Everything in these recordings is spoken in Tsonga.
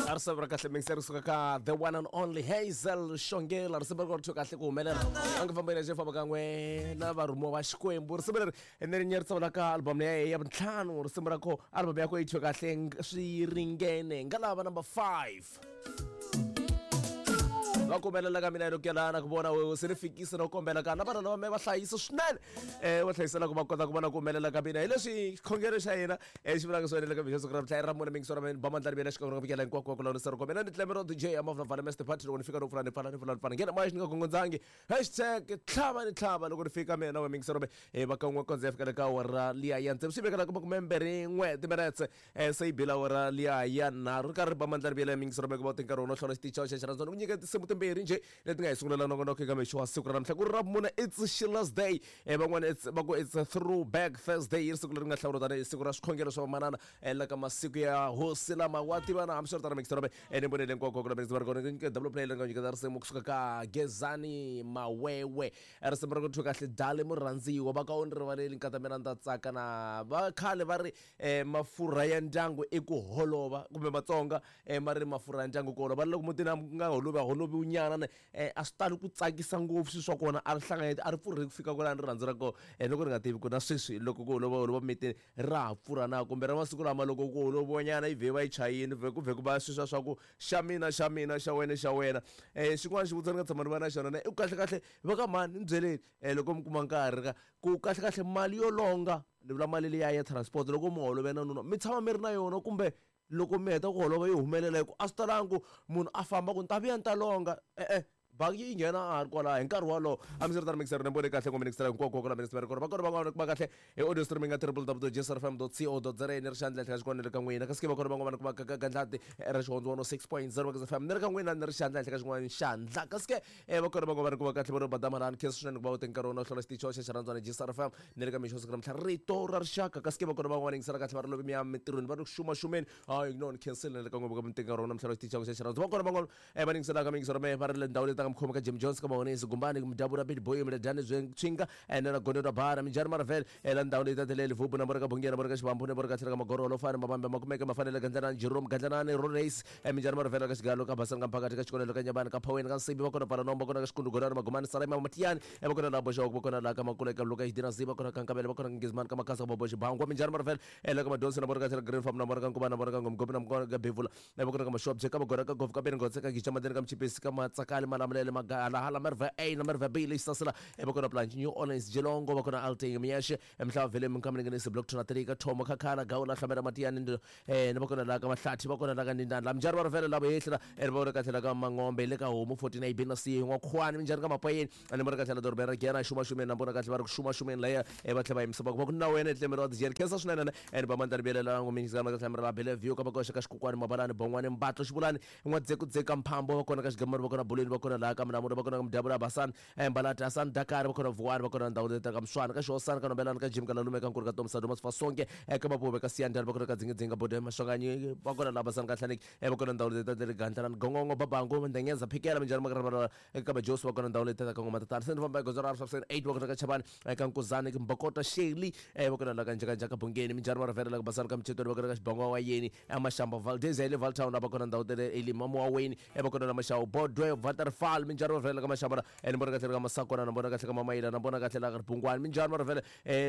Risimu ra kahle mixer kusuka ka the one and only Hazel Xongela. Risimu ri kothiwe kahle ku humelela a nga famba yena famba kan'we na varhumiwa va Xikwembu. Risimu leri ene ri nyerisa ka album ya ya vuntlhanu. Risimu ra ko album ya ko yi thyiwe kahle swi ringene nga lava number 5 va kombela ka mina loko na ku vona wewe se ni fikisa na ku kombela ka na vana lava me va hlayisa swinene va hlayisela ku va kota ku vona ku humelela ka mina hi leswi xikhongelo xa hina xi vulaka swona le ka mixo siku ra mhla ra mune mingiso ra mina ba mandla rivela xikan'we ka hinkwako ku lawurisa ri komela ni tlemero DJ ya mavula vala Master Party loko ni fika no pfula ni pfala ni pfula ni pfala nghena moya xi ni nga gongondzangi hashtag tlhava ni tlhava loko ni fika mina na we mingiso ra va kan'we kondza ya fika le ka awara liya ya tsevu swi vekela kuma kume mbirhi n'we timinetse se yi bila awara liya ya nharhu ri karhi ri ba mandla rivela mingiso ra mina ku va nkarhi wo hlola xitichi xa xirhandzwana ku nyika tinsimu timbirhi njhe leti nga hi sungulela nongonoko eka mixo wa siku ra namuntlha ku ri ra vumune. It's Sheila's Day, van'wana it's va ku it's a throwback Thursday, yi ri siku leri nga hlawuriwa tanihi siku ra swikhongelo swa vamanana la ka masiku ya hosi lama wa tivana. Hambiswiritano mixo ra ni vonele hinkwako ku la va ri kona nyike double play leri nga nyiketa risimu kusuka ka Gezani Mawewe, risimu ra ku thyiwe kahle Dali Murhandziwa va ka u ni rivaleli nkata mina ni ta tsaka na va khale va ri mafurha ya ndyangu i ku holova kumbe Matsonga ma ri mafurha ya ndyangu ku holova loko mutini a nga holovi a holoviwi nyana ne a swi tali ku tsakisa ngopfu swilo swa kona a ri hlanganyeti a ri pfurhi ku fika kwalani rirhandzu ra kona. Loko ri nga tivi ku na sweswi loko ku holova holova mitini ra ha pfurha na kumbe ra masiku lama loko ku holoviwa nyana yi vhe va yi chayini vhe ku vhe ku va sweswiya swa ku xa mina xa mina xa wena xa wena. Xin'wana xivutiso ni nga tshama ni va na xona ne i ku kahle kahle va ka mhani ni byeleni loko mi kuma nkarhi ka ku kahle kahle mali yo longa ni vula mali liya ya transport loko mi holove na nuna mi tshama mi ri na yona kumbe loko mi heta ku holova yi humelela hi ku a swi talangi ku munhu a famba ku ni ta vuya ni ta longa e-e bangi yi nghena a ha ri kwalaho hi nkarhi wolowo. A mi swi ri tano mixer ni vone kahle ngoma ni hinkwako ku la mi ri kona va kona van'wana va kahle hi audio streaming ka www.jsrfm.co.za ni ri xandla henhla ka xin'wana ni ri ka n'wina kasi ke va kona van'wana ku va ka gandlati ra xihondzo 106.0 Magezi FM ni ri ka n'wina ni ri xandla henhla ka xin'wana xandla kasi ke va kona van'wana ku va kahle va ri badamalani khensa swinene ku va u te nkarhi wona u hlola xitichi xa xirhandzwana JSR FM ni ri ka mixo siku namuntlha rito ra rixaka kasi ke va kona van'wana yingisela kahle va ri lovi mi ya mintirhweni va ri ku xumaxumeni hayi no ni khensile ni ri ka n'wina ka mi teka nkarhi wona namuntlha xitichi xa xirhandzwana va kona van'wana va yingiselaka mingiso ra mehe va ri le ndhawu leyi ta nga mukhomi ka Jim Jones ka Mahonisi Gumbani Mudabura Big Boy Mledani Tswinga na Gonde ra Bara Minjhani Marvel la ndhawu leyi ta tele Livubu na vona ka Bungeni na vona ka Xivambu na vona ka tlhela ka Magorolo Fani Mabambe Makumeke Mafanele Gandlanani Jerome Gandlanani Rorace Minjhani Marvel ka Xigalo ka Basani ka Mphakathi ka Xikolelo ka Nyabani ka Phaweni ka Nsibi va kona Pfalanombo va kona ka Xikundu Godani Magomani Salema Matiyani va kona laha Boxawuku va kona laha ka Makula ka Luka Xidina Ziba va kona ka Nkavele va kona ka Ngizimani ka Makhasa ka Bobo Xibangwa Minjhani Marvel la ka Madonsi na vona ka tlhela Green Farm na vona ka Nkuvana na vona ka Ngomgomi na vona ka Bevula va kona ka Mashobye ka Magora ka Govu ka Beningotse ka Gicha Madeni ka Mchipisi ka Matsakali Malamulele Magalahala Merve A na Merve B leyi Sasila va kona Planche New Orleans Jilongo va kona Alting Miyashe Mhlava Vele Minkaminengenisi Block 2 ka Thomo Khakhala Gawula Hlamela Matiyani ni va kona laha ka Mahlathi va kona laha ka Ndindani la Minjhani va ri vele lavo hehla va vona ka tlhela ka Mangombe le ka Homu 14 A B na C N'wakhuwani Minjhani ka Mapayeni ni vona ka tlhela dorobeni ra Giyani xumaxumeni na vona kahle va ri ku xumaxumeni laya va tlhela va yimisa va ku va ku na wena etlemelo wa dijeni khensa swinene and va mandla rivelela ngo mingisana ka tlhela ra Bellevue ka makoxa ka Xikukwani Mabalani Bongwani Mbatlo Xivulani N'wadzekudzeka Mphambo va kona ka Xigamani va kona Bulweni va kona laha ka Mlamula va kona ka Mudabula Basani Mbalati Hasani Dakar va kona Vuwani va kona ndhawu leti ka Mswana ka Xihosana ka Nombelani ka Jim ka Lalume ka Nkulu ka Tomsa Thomas Fasonke ka Mapuve ka Siyandhani va kona ka Dzingidzinga Bode Maswanganyi va kona laha Basani ka Hlaneki va kona ndhawu leti ta le Gandlelani Gongongo Babangu Ndengeza Phikela Minjhani Makarabara ka Majosi va kona ndhawu leti ta ka Ngoma Tatana se ni famba hi gondzo ra 8 va kona ka Chavani ka Nkuzani Mbokota Shirley va kona la ka Njhakanjhaka Bungeni Minjhani va rivela la ka Basani ka Mchetweni va kona ka Xibangwa wa Yeni Mashamba Valdez ya le Valtown va kona ndhawu tele Elim Muaweni va kona la Maxawu Bodwe Waterfall Minjhani va rivela ka Mashamba ni vona kahle ka Masakona na vona kahle ka Mamayila na vona kahle la ka Ribungwani Minjhani va rivela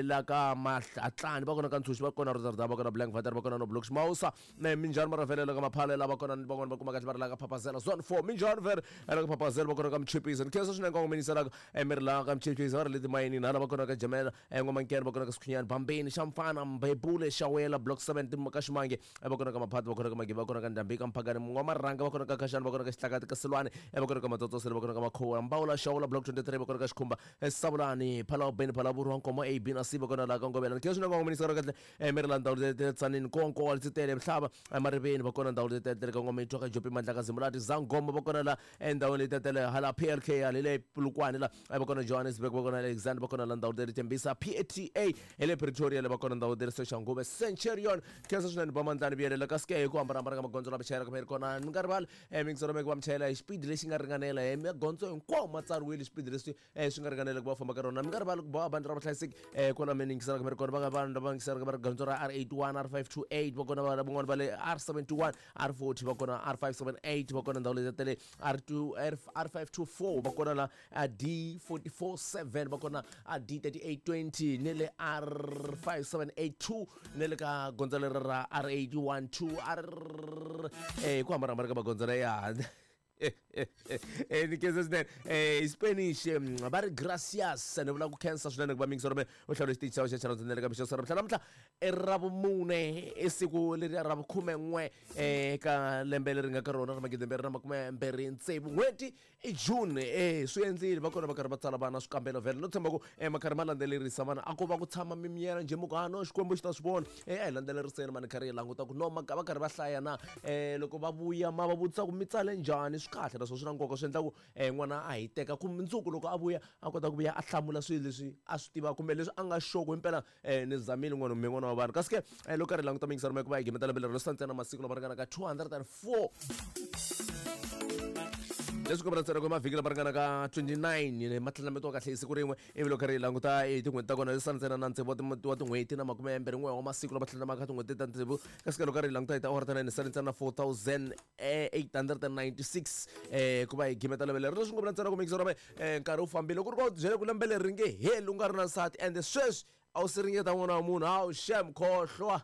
la ka Mahlatlani va kona ka Ntshuxi va kona Rotterdam va kona Blank Vater va kona no Blocks Mausa Minjhani va rivela la ka Maphala la va kona van'wana va kuma kahle va ri la ka Phapazela Zone 4 Minjhani ver la ka Phapazela va kona ka Mchipisa ni khensa swinene nkongominisela mi ri la ka Mchipisa va ri le timayini hala va kona ka Jamela N'wamankhene va kona ka Sikhunyani Bambeni Xamfana Mbebule Xawela Block 7 ka Ximange va kona ka Maphati va kona ka Magiva va kona ka Ndhambi ka Mphakani N'wamarhanga va kona ka Khaxani va kona ka Xihlakati ka Silwani va kona ka Matsotsosele va kona ka Makhuwa Mbawula Xawula Block 23 va kona ka Xikhumba Savulani Phalawu Beni Phalavurwa Nkomo A B na C va kona laha ka Ngovela ni khensa swinene nkongominisela kahle mi ri la ndhawu leti Tsanini Nkonko wa Letsitele Mhlava Mariveni va kona ndhawu leti tele ka N'wamitwa ka Jopi Mandla ka Zimulati Zangoma va kona la endhawini leyi tatele hala PLK hala le Polokwane la va kona Johannesburg va kona Alexander va kona la ndhawu leri Tembisa PATA hi le Pretoria le va kona ndhawu leri Soshanguve Centurion khensa swinene ba mandlani vuyelela kasi ke hi ku hambanahambana ka magondzo lama chayelaka mi ri kona mi nga rivali mingiselo meke va mi chayela hi xipidi lexi nga ringanela. kwalahe magondzo hinkwawo ma tsariwile xipidi leswi swi nga ringanela ku va famba ka rona. Mi nga rivali ku boha bandi ra vuhlayiseki kwala mi yingiselaka mi ri kona, va nga vanhu lava yingiselaka va ri gondzo ra R81, R528 va kona, van'wana va le R71, R40 va kona, R578 va kona, ndhawu leti ta le R2, R524 va kona, la D447 va kona, D3820 ni le R5782 ni le ka gondzo leri ra R812 R hi ku hambanahambana ka magondzo la ya ni khensa swinene. Spanish va ri gracias, ni vula ku khensa swinene ku va mingisoro me u hlawula xitichi xa xa xana ntsena ka mixo namuntlha. Namuntlha i Ravumune, i siku leri ra vukhumen'we eka lembe leri nga ka rona ra 2026, n'hweti i June. Swi endlile va kona va karhi va tsala vana swikambelo vhele, no tshemba ku ma karhi ma landzelerisa vana, a ko va ku tshama mimiyela njhe, mi ku no Xikwembu xi ta swi vona. A hi landzeleriseni mani, karhi hi languta ku no va karhi va hlaya na loko va vuya ma va vutisa ku mi tsale njhani. Swi kahle naswona swi na nkoka, swi endla ku n'wana a hiteka ku mundzuku loko a vuya a kota ku vuya a hlamula swilo leswi a swi tivaka kumbe leswi a nga sure ku himpela ni zamile n'wana mi n'wana wa vanhu. Kasi ke loko karhi hi languta mingisano ma ku va hi gimeta lembe leri ro ntsena masiku lama ringanaka 204, leswi kombela ntsena ku mavhiki lama ringanaka 29 ma tlhandlametiwa kahle hi siku rin'we, ivi loko karhi hi languta i tin'hweti ta kona leswi ntsena na tsevu wa tin'hweti na 21 wa masiku lama tlhandlamaka tin'hweti ta tsevu. Kasi ke loko karhi hi languta hi tiawara ta 9 sale ntsena 4896 ku va hi gimeta lembe leri. Leswi kombela ntsena ku mingisero me nkarhi wu fambile, ku ri ku byele ku lembe leri ri nge heli u nga ri na nsati, ende sweswi a wu siringeta n'wana wa munhu, hawu xem khohlwa.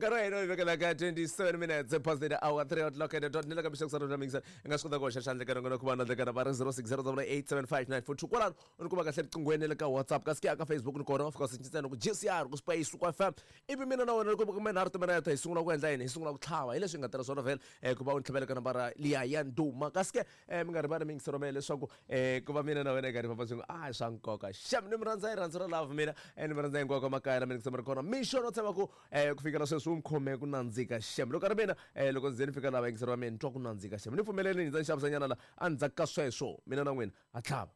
Nkarhi wa hina wu vekela ka 27 minutes past the hour, 3 o'clock and dot. Ni le ka mixo kusana mixer i nga swi kota ku hoxa xandla ka nongonoko va na ndlekana va ri 0608875942 kwalano u ni kuma kahle riqinghweni le ka WhatsApp. Kasi ke aka Facebook ni kona, wa fika u ntsena ku GCR ku space ku FM, ivi mina na wena loko kumbe nharhu timinete hi sungula ku endla yini? Hi sungula ku tlhava hi leswi hi nga tirha swona vhele ku va u ni tlhavela ka nambara liya ya ndhuma. Kasi ke mi nga rivali mingisero mehe leswaku ku va mina na wena hi karhi famba swin'we a hi swa nkoka xem. Ni mi rhandza hi rhandzu ra love mina, ni mi rhandza hinkwako makaya la mi ni ri kona mixo, no tshemba ku ku fikela sweswi wu mi khome ku nandzika xem. Loko a ri mina loko ndzi ze ni fika laha vayingiseri va mina ni twa ku nandzika xem, ni pfumeleni ndza ni xavisanyana la endzhaku ka sweswo mina na n'wina ha tlhava.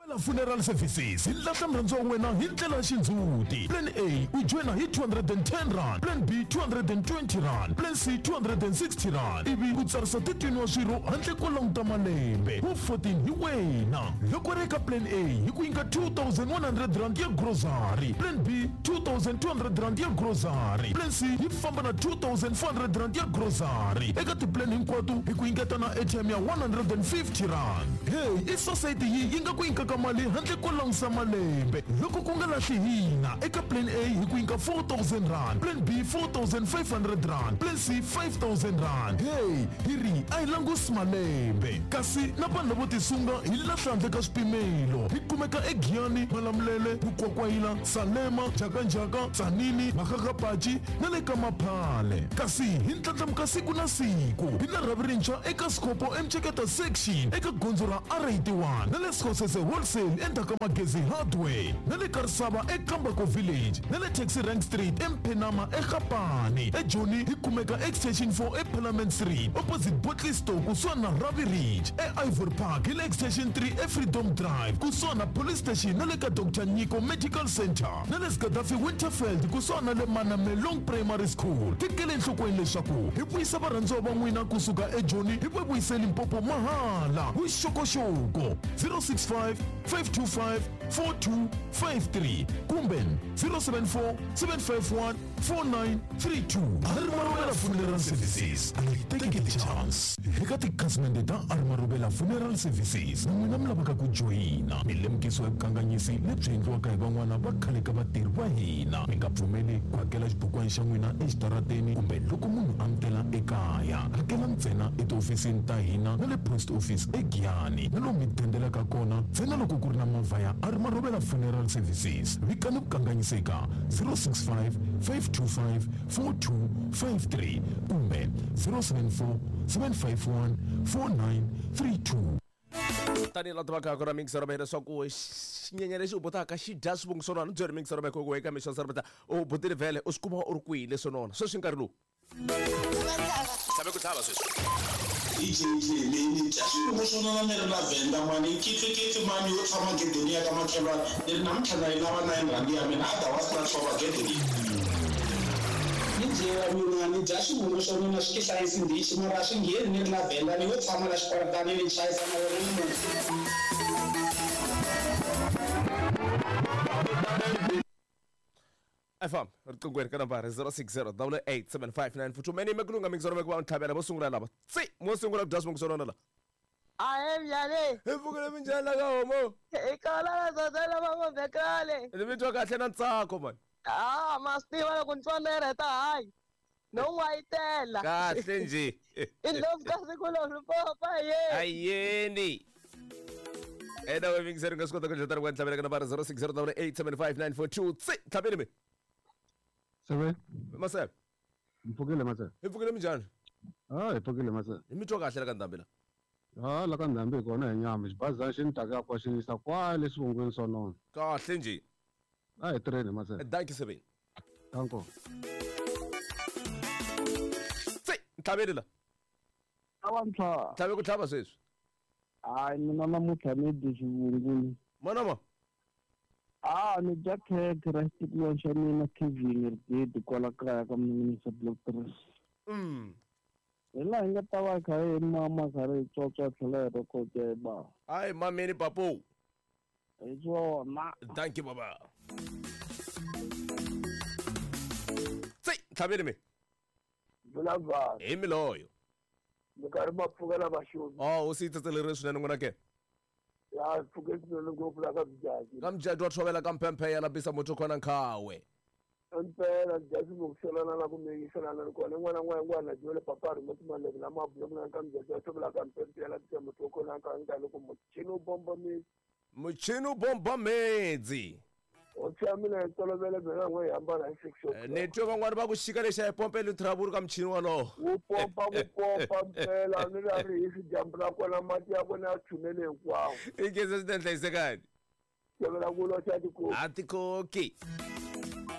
Vela Funeral Services hi lahla murhandziwa wa wena hi ndlela ya xindzhuti. Plan A u joyina hi 210 rand, Plan B 220 rand, Plan C 260 rand, ivi u tsarisa 13 wa swirho handle ko languta malembe. Wu 14 hi wena. Loko ri eka Plan A hi ku nyika 2100 rand ya grocery, Plan B 2200 rand ya grocery, Plan C yi famba na 2400 rand ya grocery. Eka tiplan hinkwato hi ku nyiketa na airtime ya 150 rand. Hey, i society yi yi nga ku nyikaka mali handle ko langusa malembe. Loko ku nga lahli hina, eka Plan A hi ku nyika 4000 rand, Plan B 4500 rand, Plan C 5000 rand. Hey, hi ri a hi langusi malembe. Kasi na vanhu lavo tisunga hi lahla handle ka swipimelo. Hi kumeka eGiyani, Malamulele, Mukwakwayila, Salema, Njhakanjhaka, Tzaneen, Makgakgapachi na le ka Maphale. Kasi hi ndlandlamuka siku na siku. Hi na rhavi rintshwa eka Sikopo eMceketa Section eka gondzo ra R81, na le Skhosese Wholesale endzhaku ka Magezi Hardware, na le Karisava eKambako Village, na le Taxi Rank Street eMphenama eGapane. EJoni hi kumeka Extension 4 eParliament Street opposite Bottle Store kusuhani na Ravi Ridge. EIvory Park hi le Extension 3 eFreedom Drive kusuhani na Police Station na le ka Dr Nyiko Medical Center, na le Gaddafi Winterfeld kusuhani na le Manamelong Primary School. Tekela enhlokweni leswaku hi vuyisa varhandziwa va n'wina kusuka eJoni hi va vuyise Limpopo mahala. Vuxokoxoko 065 525 4253 kumbe 074 751 4932. Arimarubela Funeral Services, a yi teki ti-chance. Eka tikhasimende ta Arimarubela Funeral Services na n'wina mi lavaka ku joyina, mi lemukisiwa hi vukanganyisi lebyi endliwaka hi van'wana va khale ka vatirhi va hina. Mi nga pfumeli ku hakela xibukwana xa n'wina exitarateni kumbe loko munhu a mi tela ekaya. Hakela ntsena etihofisini ta hina na le post office eGiyani, na lomu mi dendelaka kona ntsena loko ku ri na movha ya Arimarubela Funeral Services. Vikani vukanganyisi eka 065 525 4253 kumbe 074 751 4932. Tanihi la tivaka ku ra mingisero va leswaku xinyenyana lexi u botaka xi dya swivungu swo nona, ni byeri mingisero va ku eka mixo sarapeta u botile vhele u swi kuma u ri kwihi leswo nona sweswi nkarhi lowu tlhave ku tlhava sweswi. DJ leyi ni dya swivungu swo nona ni ri na Venda mani, kitsikitsi mani yo tshama gedeni ya ka makhelwani, ni ri namuntlha na yi lava 9 rand ya mina, otherwise na tshova gede leyi. DJ wa mina ni dya xivungu swa mina swi tihlayisi ndichi mara a swi ngheni ni ri na Venda ni yo tshama la xikwaratani ni chayisa na wena ni munhu. FM riqingweni ka nambara 060 8875942 mene me kulunga mingisoro me ku va ntlhavela vo sungula lava tsi mo sungula ku dya swivungu swo nona la. Ahe njhani? Hi pfukile minjhani la ka homo? Hi kona la zozela va ngombe kale. Ni mi twa kahle na ntsako mani. Ah, ma swi tiva loko ni twa lereta hayi. No n'wayitela. Kahle nje. I ndlopfu ka siku lowu papa ye. Ayeni. Ena we mingiseri nga swi kota ku dlatana ku ntlhavela ka nambara 060 8875942 tsi ntlhaveli mi. Sebe. Masebe. Mpfukile masebe. Hi pfukile minjhani? Ah, hi pfukile masebe. Hi mi twa kahle la ka ndhambi la. Ah, la ka ndhambi hi kona hi nyama xibazana xi ni taka kwa xi yisa kwale swivungwini swa nona. Kahle nje. A hi tirheni masebe. Dankie Sebeni. Danko. Tsi ntlhaveli la. Awa ntlha. Ntlhave ku tlhava sweswi. Hayi mina namuntlha ni dyi xivungwini. Manama. Ah, ni dya khekhe ra xitikiwa xa mina Kevin Rididi kwala kaya ka Minisa Block 3. Hi laha hi nga ta va kha hi mama kha ri tswatswa tlhela hi rhekhoda hi ba. Hayi mameni papo. Hi swona. Thank you baba. Tsi ntlhaveli mi. Vulavula. Hi miloyo. Mi karhi ma pfukela vaxomi. Oh, u si tsetseleri swinene n'wina ke. Ya pfuke swinene ngopfu la ka Mjaji. Ka Mjaji wa tshovela ka mpemphe ya labisa muthu khona nkhawe. Impela Mjaji ngokusolana la kumeyiselana ni kona n'wana n'wana n'wana jole papa ri moti maleke la mabulo na ka Mjaji wa tshovela ka mpemphe ya labisa muthu khona nkhawe nka loko muchini u bomba medzi. Muchini u bomba medzi. O tshamile tolovele mina n'we hi hambana hi 6 o'clock. Ni twe van'wani va ku xika lexa hi pompela trouble ka muchini wolowo. Wu pompa ku pompa mpela ni ra ri hi dyambu ra kona mati ya kona ya tshunele hinkwawo. I ngeze swi hlayisekani. Tshovela ku loxa tikoki. A tikoki.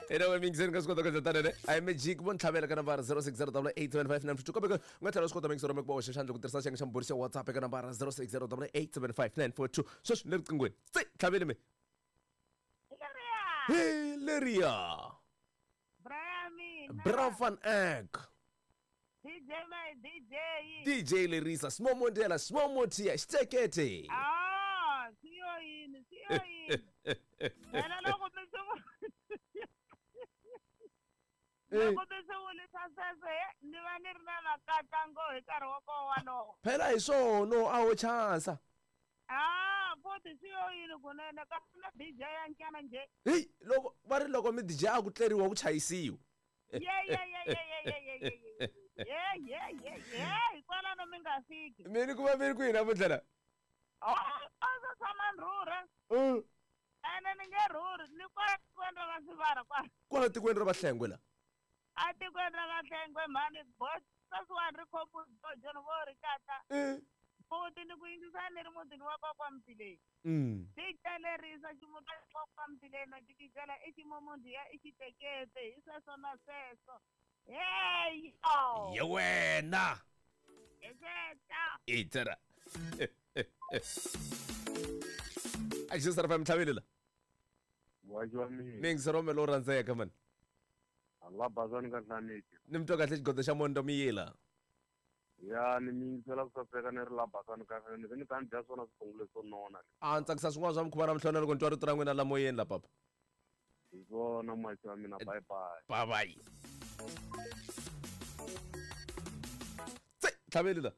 Ena we mingiseni ka swi kota ku endla tano ne. A hi magic vo ntlhavela ka nambara 060 875 kambe u nga tlhela u swi kota mingisero mi ku va hoxa xandla ku tirhisa xiyenge xa mbhuri xa WhatsApp eka nambara 060 875 sweswi ni le riqingweni. Tsi ntlhaveli mi. Hileria. Bra van Eck. DJ my DJ. DJ Lerisa, Small Mondela, Small Motia, Xtekete. Ah, siyo yini, siyo yini. Wena loko mi swi loko mi swi vulisa sweswo ni va ni ri na makatango hi nkarhi wa koho walowo. Phela hi swona a wo chansa. Ah, futhi siyo yini kunene ka na DJ ya nyana nje. Hey, loko va ri loko mi DJ a ku tleriwa ku chayisiwa. Ye ye ye ye ye ye ye. Ye ye ye ye, hikwalano mi nga fiki. Mina ku va mi ri kwihi namuntlha la? Ah, a ndzi tshama ni rhurha. Ene ni nge rhurhi, ni kwala tikweni ra Vasivara kwala. Kwala tikweni ra Vahlengwe la? A tikweni ra Vahlengwe mhani, boss sweswiwani ri khompyuta vo ri kata. Futhi ni ku yingisa ni ri mutini wa kokwa Mtileni. Xi telerisa ximuta xa kokwa Mtileni na jikijela i ximomondiya i xitekete hi sweswo na sweswo. Hey yo. Ye wena. Hi sweswo. Itera. A xi sara fa mtlhaveli la. Wajiwa mina. Mingisero me lo rhandzeka mani. Allah bazani ka hlaneki. Ni mi twa kahle xigodo xa mondo miyila. Ya ni mingisela ku saseka ni ri la basani ka ni ni ta ni dya swona swiphongo leswo nona. A ni tsakisa swin'wana swa mikhuva na mihlona loko ni twa rito ra n'wina la moyeni la papa. Hi swona masi wa mina, bye bye. Bye bye. Tsi ntlhaveli la.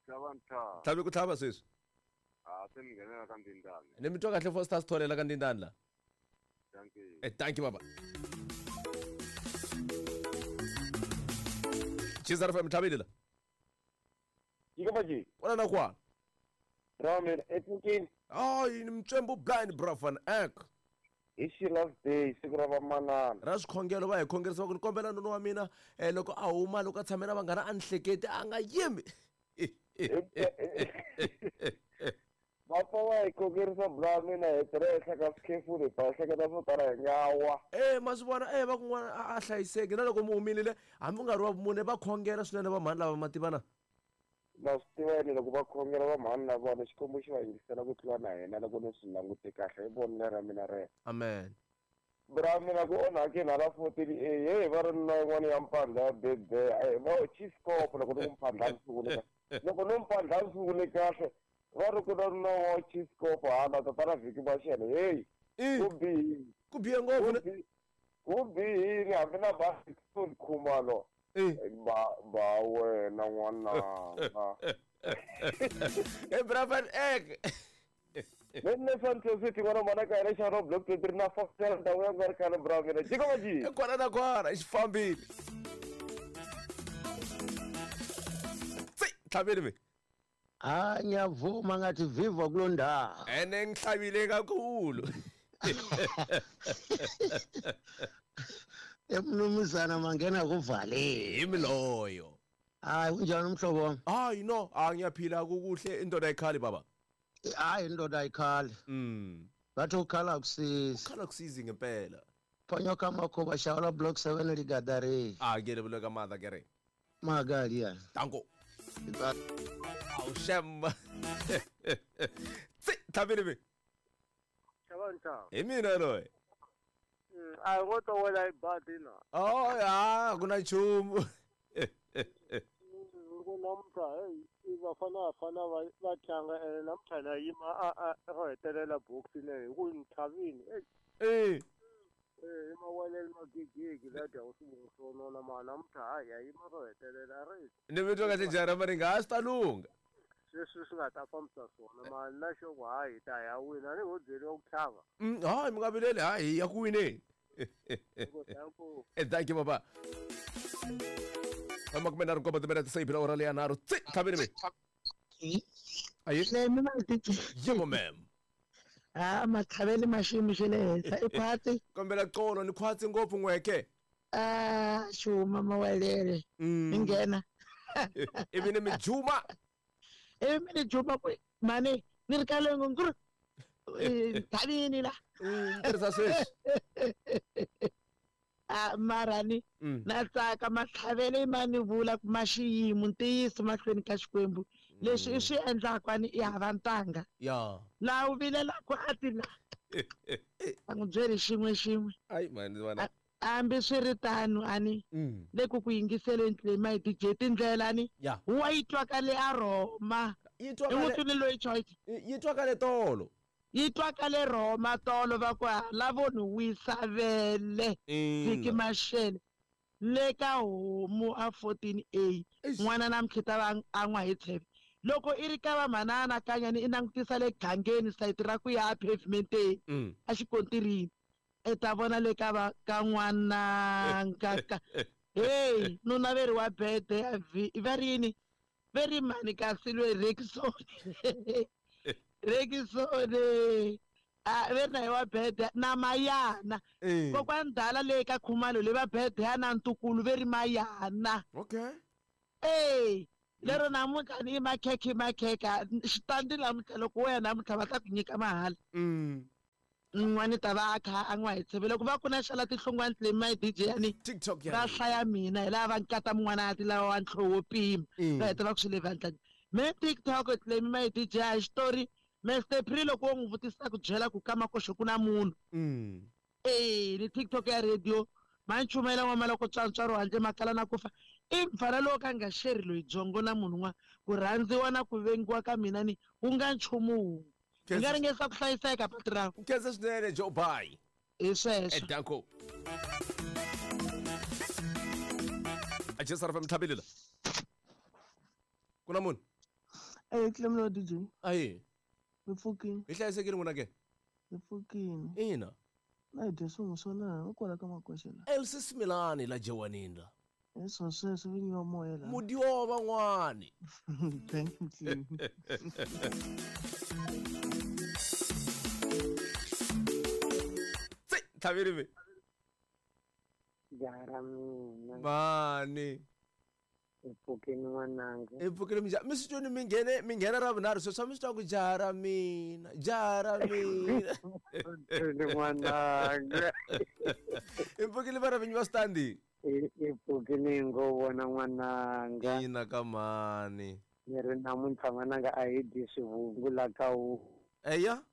Tlhava ntlhava. Tlhave ku tlhava sweswi. A se ni nghenela ka ndindani. Ni mi twa kahle Foster Sithole ka ndindani la. Thank you. Thank you baba. Chizara fa mtlhaveli la. Yikabaji. Wala na kwa. Ramen epukini. Ay, ni mtshembo blind bra van Eck. Hi xi last day siku ra vamanana. Ra swikhongelo va hi khongerisa va ku ni kombela nuna wa mina loko a huma loko a tshame na vanghana a ni hleketi a nga yimi. Va pfa va hi khongerisa bra mina hi tirha ehenhla ka swikhefulu hi pfa hi hleketa swo tala hi nga wa. Ma swi vona va ku n'wana a hlayiseki na loko mi humile hambi u nga ri wa vumune va khongela swinene va mhani lava ma tivana. Na swi tiva yini loko va khongela va mhani na vona Xikwembu xi va yingisela ku tlula na hina loko ni swi langute kahle hi vonelo ra mina rero. Amen. Bra mina ku onhakeni hala 14A hey va ri na yin'wana ya mpandla ya bebe va chief cop loko ni ku mpandla ni sungule kahle loko ni mpandla ni sungule kahle va ri ku na na wa chief cop hala tatana vhiki maxele hey ku bihe ngopfu ku bihile hambi na basi khumalo ba wena n'wananga e bra van ek Nne Santos ngwana mwana ka ere xa block 23 na fafela ndhawu ya nga ri khale bra mina jika maji kwana na kwana xi fambile tlhaveli mi ha ngiyavuma ngathi viva kuloo ndawo ene ngihlabile kakhulu emnumzana mangena kuvalile yimi loyo. Hayi unjani umhlobo wami? Hayi no, ngiyaphila kukuhle indoda ayikhali baba. Hayi indoda ayikhali. Bathi ukhala kusizi. Ukhala kusizi ngempela. Ponyoka makhoba shawula block 7 ligadare. Ah ke le ka mother kere. Magali ya. Tango. Awu shemba. Tsi tlhaveli mi. Chavanta. Hi mina loyi. A ngo to wela i badi na. Oh ya, ku na nchumu. Ku namuntlha hey vafana vafana va tlanga ene namuntlha na yima a ro hetelela box leyi hi ku ni tlhavini eh i mawelele magigigi la dya swivungu swo nona ma namuntlha hayi ya yima ro hetelela ri ni mi twa kahle jara mari nga swi ta lungha sweswi swi nga ta fambisa swona ma na xo ku hayi hi ta ya wina ni ho byeriwa ku tlhava. Hayi mi nga vileli hayi hi ya ku wineni. Thank you baba. Makume nharhu nkombo timinete se yi phila ora leya nharhu tsi tlhaveni mi. Ayi yebo ma'am. Ah matlhaveli ma xiyimo xa le henhla i khwatsi. Kombela xolo ni khwatsi ngopfu n'weke. Ah xuma mawelele mi nghena. Ivi ni mi juma. Ivi mi ni juma ku mani ni ri ka lengo nguru tlhavini la. Tirhisa sweswi. Mara ni na tsaka matlhavele ma ni vula ma xiyimo ntiyiso mahlweni ka Xikwembu leswi i swi endlaka ni i hava ntanga laha u vilelaka a ti la a n'wi byeli xin'we xin'we hambi swi ri tano ani le ku ku yingiseleni tlema hi DJ tindlela ni wa yi twakale a Roma i n'wi loyi choice yi twakale tolo yi twakale Roma tolo va ku lavo ni wisa vele vhiki maxele le ka homu a 14A n'wana namuntlha ta va a n'wa hi tsheve loko i ri ka va mhana anakanya ni i langutisa le gangeni sayiti ra ku ya pavementeni a xikontirini i ta vona le ka va ka n'wananga ka hey nuna ve ri wa bede ya va ri yini ve ri mani kasi lwe Rekisoni Rekisoni a ve ri na hi wa bede na mayana kokwani ndala le ka Khumalo le va bede ya na ntukulu ve ri mayana okay eh lero namuntlha ni makhekhe makhekha xitandi namuntlha loko wena namuntlha va ta ku nyika mahala n'wani ta va a kha a n'wa hi tsheve loko va ku na xala tinhlongwana tle my DJ yani TikTok va hlaya mina hi lava va nkata mun'wana a ti lava wa ntlho wo pima va heta va ku swi le vandlani me TikTok tle my DJ a xitori Mr Pri loko wo n'wi vutisa ku byela ku ka makoxo ku na munhu eh ni TikTok ya radio ma nchumayela n'wama loko tswantswaro handle makala na ku fa i mfana lowo ka nga xeri loyi byongo na munhu n'wana ku rhandziwa na ku vengiwa ka mina ni wu nga nchumu wun'we hi nga ringesa ku hlayiseka pati ra khensa swinene Joe bye hi sweswo danko a jesa ra mtlhabilila ku na munhu eh Clemlo DJ ayi hi pfukini hi hlayisekile n'wina ke hi pfukini ina na hi dye swin'we swo leha u kwala ka makoxe la Elsie Similani la Jewanini la hi swo sweswo vinyi wa moya la mudiwa van'wani thank you Clem tsi tlhaveli mi Jara mina mani hi pfukini n'wananga hi pfukile minjhani mi swi twini mi nghene mi nghena ra vunharhu sweswi a mi swi twa ku jara mina jara mina n'wananga hi pfukile vana vinyi va switandi hi pfukile ngo vona n'wananga ina ka mani ni ri namuntlha n'wananga a hi dyi swivungu la ka wu eya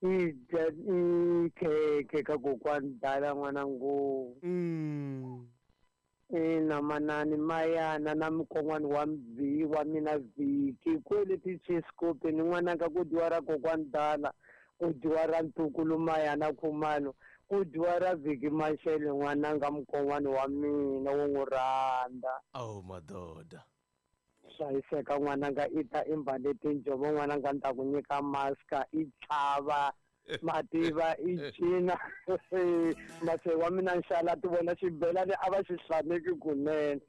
Hi dya i khekhe ka kokwani dala n'wanangu. Ina manani mayana na mukon'wana wa wa mina Vhiki kwele tichesikope ni n'wananga ku dyiwa ra kokwani dala ku dyiwa ra ntukulu mayana Khumalo ku dyiwa ra Vhiki Mashele n'wananga mukon'wana wa mina wo n'wi rhandza. Awu madoda. Hlayiseka n'wananga i ta i mbale tinjhovo n'wananga ni ta ku nyika maska i chava mativa i cina mase wa mina nxala ti vona xibelani a va xi hlaneki kunene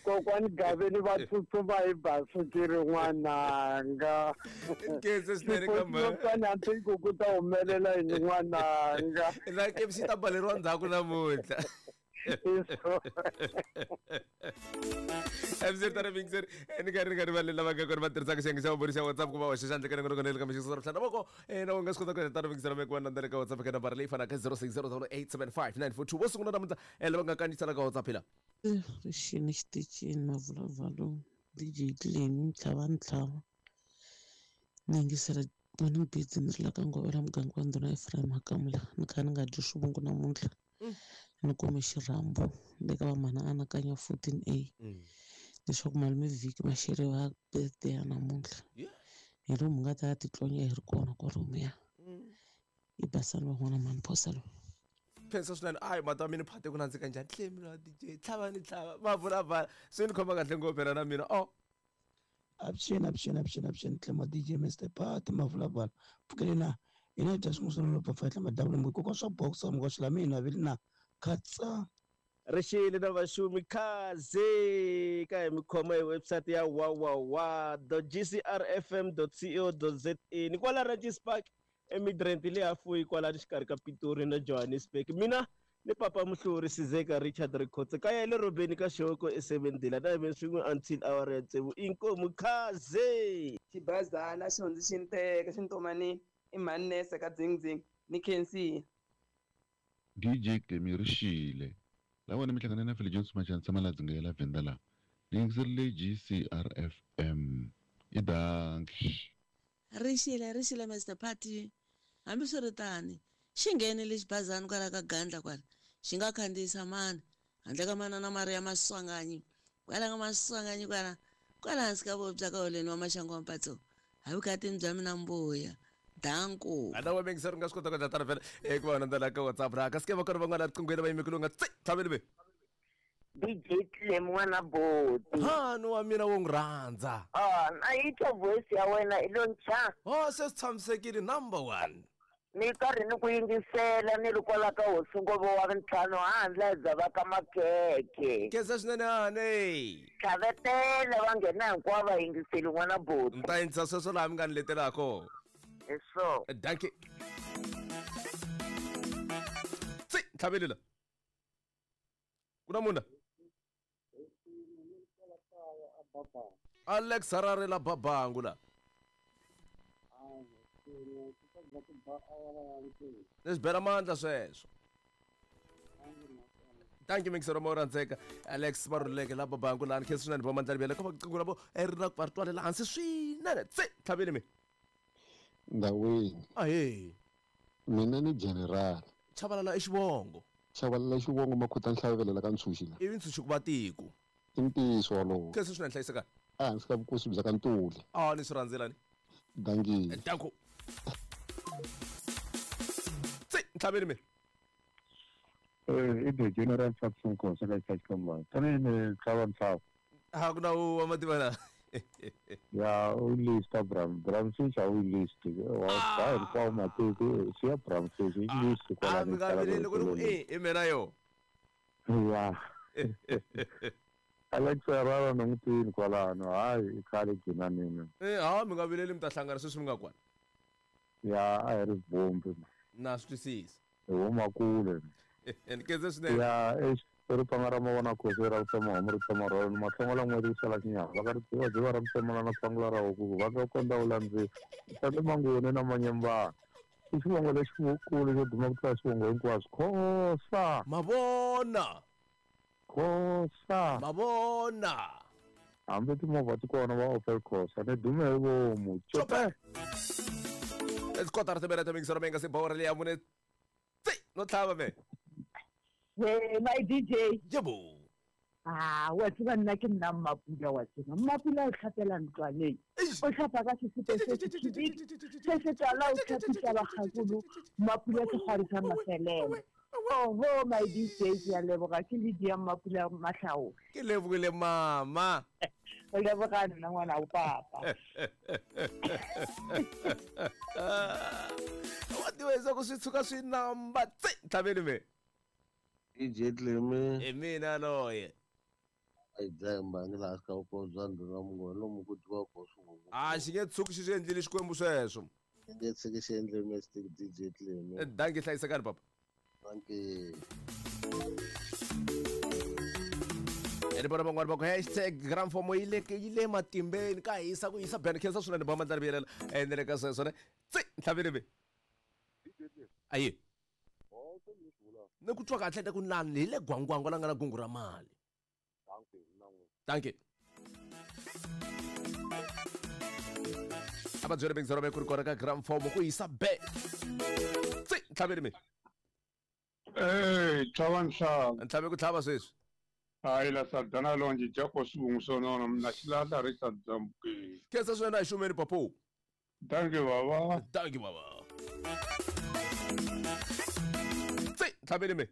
kokwani gaveni va tsutsuma hi basikiri n'wananga Nkhensa swinene ka mhaka. Xipotsotswana hambi ku ku ta humelela yini n'wananga Na KFC ta baleriwa ndzhaku namuntlha. MZ Mixer ni karhi ni karhi va lava nga kona va tirhisaka xiyenge xa vumbirhi xa WhatsApp ku va hoxa xandla ka nongonoko ka mixo ra mhlana voko na u nga swi kota ku endla Mixer me ku va nandza ka WhatsApp ka nambara leyi fanaka 06087594 vo sungula namuntlha lava nga kandziyisela ka WhatsApp la Rixini xitichini mavulavalo DJ Clean ntlhava ntlhava ni yingisela morning beats ni ri la ka Ngovela muganga wa ndhuna Ephraim Hakamula ni kha ni nga dyi swivungu namuntlha ni kume xirhambo le ka vamhana anakanya 14A leswaku malume vhiki maxele wa birthday ya namuntlha hi lomu hi nga ta ya titlonya hi ri kona kwalomuya i basani van'wana mhani phosa loyi khensa swinene ayi mata wa mina phate ku nandzika njhani tlemi la DJ tlhava ni tlhava va vula va swi ni khoma kahle ngopfu na mina oh Avuxeni avuxeni avuxeni avuxeni Tlemo DJ Mr Party Mavulavala pfukele na hina hi dya swin'wana swo pfafahla madavula mbuyi kokwa swa boxer mukwaxi la mina vili na khatsa Rixile na vaxumi khaze ka hi mi khoma hi website ya wawawa gcrfm co za ni kwala Ranches Park eMidrand le hafuyi kwala xikarhi ka Pitori na Johannesburg mina ni papa muhluri Sizeka Richard Rikhotse kaya le robeni ka xihoko esevendila na hime swin'we until awara ya tsevu inkomu khaze Xibazana xi hundzi xi ni teka xi ni tomanini i mhani nese ka dzingdzing ni khensile. DJ Clemi Rixile la wena mi hlangane na Philly Jones Machanisa Maladzi ya la Venda la ni yingiserile GCRFM i dankie. Rixile rixile Mister Party hambiswiritani xi nghenile xibazana kwala ka Gandla kwala xi nga khandziyisa mani handle ka manana Maria Maswanganyi kwala ka Maswanganyi kwala kwala hansi ka voya bya ka holeni wa maxangu wa mpatso hi vukatini bya mina mbuya danko ana wa mixer nga swi kota ku endla tano vhele eku va landzela ka WhatsApp ra kasi ke va kona van'wana riqinghweni va yime ku nga tsi tlhaveli ve DJ Clem n'wana boti hani wa mina wo n'wi rhandza ah na yi twa voice ya wena i lo ncha oh se swi tshamisekile number one ni karhi ni ku yingisela ni ri kwala ka hosi Ngove wa ntlhanu handle bya va ka makhekhe khensa swinene hani tlhavetela va nghena hinkwavo va yingiseli n'wana boti ni ta yingisa sweswo laha mi nga ni letelaka hi so dankie tsi tlhaveli la ku na munhu Alex Harare la babangu la ni swi bela mandla sweswo thank you mixer mo rhandzeka Alex Maruleke la babangu la ni khensa swinene va mandla libele ka va rabo ri na va ri twalela hansi swinene tsi tlhaveli mi Ndhawini ahee mina ni general Chabalala i xivongo Chabalala xivongo makhuta nhlavelela ka ntshunxi la ivi ntshunxi ku va tiko i ntiyiso wolowo khensa swinene hlayisekani ehansi ka vukosi bya ka Ntuli a ni swi rhandzelani dankie danko tsi ntlhaveni mi I the general Fatson Khosa ka Xitachikambana tanihi ni tlhava ntlhava a ku na wa mativa na ya u lista Bram Bramfish a wu list wa ba hinkwawo matiko siya Bramfish i list a kwalano mi nga vileli loko ni ku i i mina yo ya Alex Herrera ni n'wi tivini kwalano hayi i khale gcina nini Eh, ha mi nga vileli mi ta hlangana sweswi mi nga kwala ya a hi ri vumbi na swi twisisa hi huma kule ni khense swinene ya eish i ri panga ra mavona khosi ra ku tsema homu ri tsema rholo ni mahlongola n'weti ku sala xinyama va ka ri dziva dziva ra mutsemana na phangula ra huku va ka kondza u landzisa sale manguni na manyembana i xivongo lexikulu xo duma ku tlula swivongo hinkwaswo khosa mavona khosa mavona hambi timovha ti kona va Opel Corsa ni dume hi vomu cope Kotara timinete mingisero mi nga se bawara leya mune tsi no tlhava me. Hey, my DJ. Yebo. Ah, wa tseba nna ke nna Mmapula wa tseba. Mmapula o tlhapela ntlwaneng. O tlhapa ka sesepe se se se tala o tlhapisa bagakolo. Mmapula segwari sa mafelelo. Oho, my DJ, ke a leboga ke Lydia Mmapula Matlhao. Ke lebogile mama. O leboga nna ngwana o papa. Wa tiva ku swi tshuka swi namba tsi ntlhaveni me. DJ Cleme. Hi mina loye. A yi dlayi mbangi laha xi ka bya ndhuna mungoni lomu ku dyiwa kona swivungu. A xi nge tshuki xi swi endlile Xikwembu sweswo. Xi nge tshiki xi endle mistake DJ Cleme. Dankie hlayisekani papa. Dankie. Ene vona van'wani va ku hashtag gramfomo yi le matimbeni ka hisa ku hisa ben khensa swinene ba mandla riviyelela ene le ka sweswo ne tsi ntlhaveni ve. Ayi. Ni ku twa kahle ta ku nani hi le gwangwangwa la nga na gungu ra mali. Dankie. A va byele bingizero ve ku ri kona ka gramfomo ku hisa be. Tsi ntlhaveni me. Hey, tlhava ntlhava. Ntlhave ku tlhava sweswi. Hayi la sadana lonje jako swivungu swo nona mina xilahla ri sadzambukile. Khensa swinene a hi xumeni papo. Dankie baba. Dankie baba. Tsi ntlhaveni me.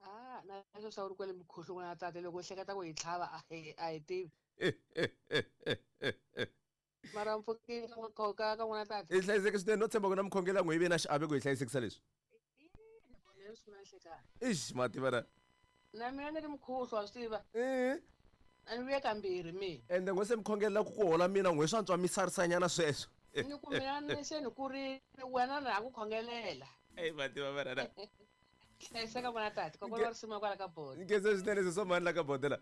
Ah, na leswo swa ku ri kwale mukhuhlu n'wana tate loko u hleketa ku hi tlhava a hi tivi. Mara mpfukile ka ka n'wana tate. I hlayiseke swinene no tshemba ku na mukhongela n'we yi ve na xiave ku hi hlayisekisa leswi. Ix mativa na. Na mina ni ri mukhuhlu wa swi tiva. A ni vuye kambirhi mina. Ende n'we se mukhongelela ku ku hola mina n'we swa antswa mi sarisanyana sweswo. Ni ku mina ni se ni kurile wena na ha ku khongelela. Eyi mativa va rana. Hlayiseka n'wana tate kokwana wa risimu kwala ka boda. Nkhensa swinene sesi wa mhani la ka boda la.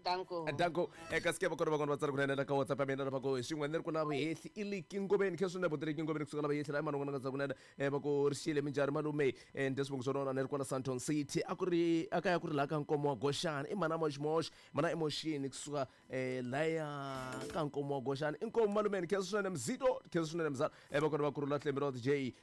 Danko. Danko. Eka sike va kona van'wana va tsala kunene la ka WhatsApp ya mina la va ku xin'we ni ri ku na vuhehli i liki ngomeni khe swinene botele ngomeni kusuka la vahehli la mani n'wana nga tsala kunene va ku ri xile minjhani malume ndzi swivongo swa nona ni ri kwala Sandton City a ku ri a kaya ku ri laha ka nkomo wa Goxani i mana moxmox mana emotion kusuka laya ka nkomo wa Goxani i nkomo malumeni khe swinene mzito khe swinene mzala va kona va kurhula Tlembe J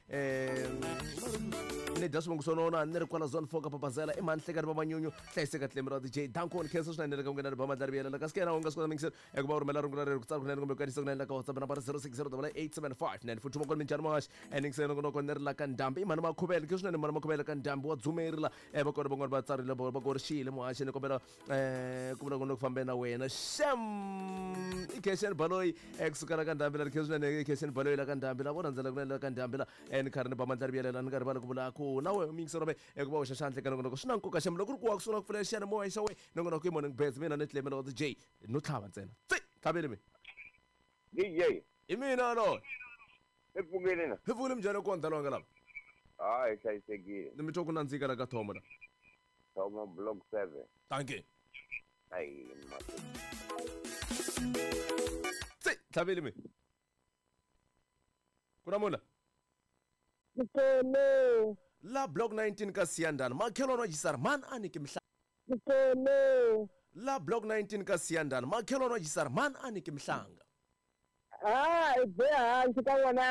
ni dya swivongo swa nona ni ri kwala zone 4 ka Papazela i mhani hlekani va manyunyu hlayiseka Tlembe ra DJ Danko ni khensa swinene le ka n'wina ni ba mandla riviyelela kasi ke yena u nga swi kota mingiselo eku va u rhumela rungula rero ku tsala kunene kumbe ku kanisa kunene la ka WhatsApp nambara 06088759 futhi makona minjhani mahaxi eningiseni nongonoko ni ri la ka ndhambi i mhani makhuvele ke swinene mhani makhuvele ka ndhambi wa dzumeri la va kona van'wana va tsarile va ku ri xile muhaxi ni kombela ku vula ku ni ku fambe na wena xem i Khesheni Baloyi kusuka la ka ndhambi la ri khe swinene i Khesheni Baloyi la ka ndhambi la vona ndzela kunene la ka ndhambi la ni karhi ni ba mandla riviyelela ni karhi va ku vula ku na wehe mingiselo ve eku va hoxa xandla eka nongonoko swi na nkoka xem loko ri ku wa ku sungula ku pfula xiyanimoya xa we nongonoko i morning beds mina ni Tlembe wa DJ no tlhava ntsena tsi tlhaveni mi DJ hi mina loyi i pfukile na hi pfukile minjhani ku ndza lwanga lava a hi hlayisekile ni mi twa ku nandzika la ka thomo la thomo block 7 dankie ayi tsi tlhaveni mi ku na muna Mkolo. La block 19 ka Siyandana makhelwane wa Jisara mani a niki mhla. Mkolo. La block 19 ka Siyandana makhelwane wa Jisara mani a niki mhlanga. Ah, i be hansi ka n'wana.